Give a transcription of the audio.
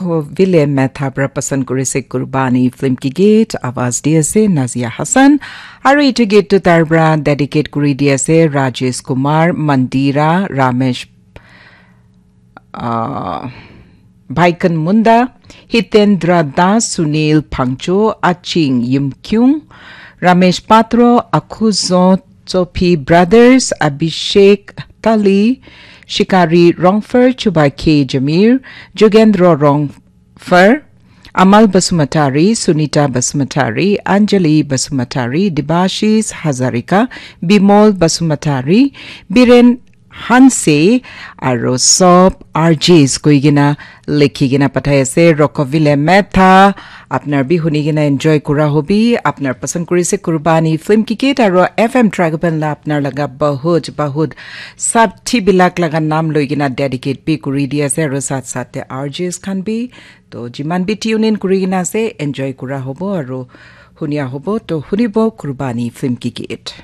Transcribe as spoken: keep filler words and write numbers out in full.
Vile Metha pra pasan kurise Kurbani film ki git, awaz di ase Nazia Hassan. Aru etu git tu tar pra dedicate kuri di ase Rajesh Kumar, Mandira, Ramesh, uh, Baikan Munda, Hitendra Das, Sunil Pangcho, Aching Yimkyung, Ramesh Patro, Akhuzo Chopi Brothers, Abhishek Tali, Shikari Rongfer, Chuba K Jamir, Jugendro Rongfer, Amal Basumatari, Sunita Basumatari, Anjali Basumatari, Debashis Hazarika, Bimol Basumatari, Biren Hanse, aro sob R Js koi kena likhi kena pathai ase. Rokovile Metha, apnar bi huni kena enjoy kura hobi, apnar pasand kurise Kurbani film ki git aro F M Dragopan la apnar laga bahut bahut sabthi bilak laga nam loi kena dedicate bi kuri di ase aro sat sat te R Js khan bi. To jiman bi tune in kuri kena ase, enjoy kura hobo aro hunia hobo. To hunibo Kurbani film ki git.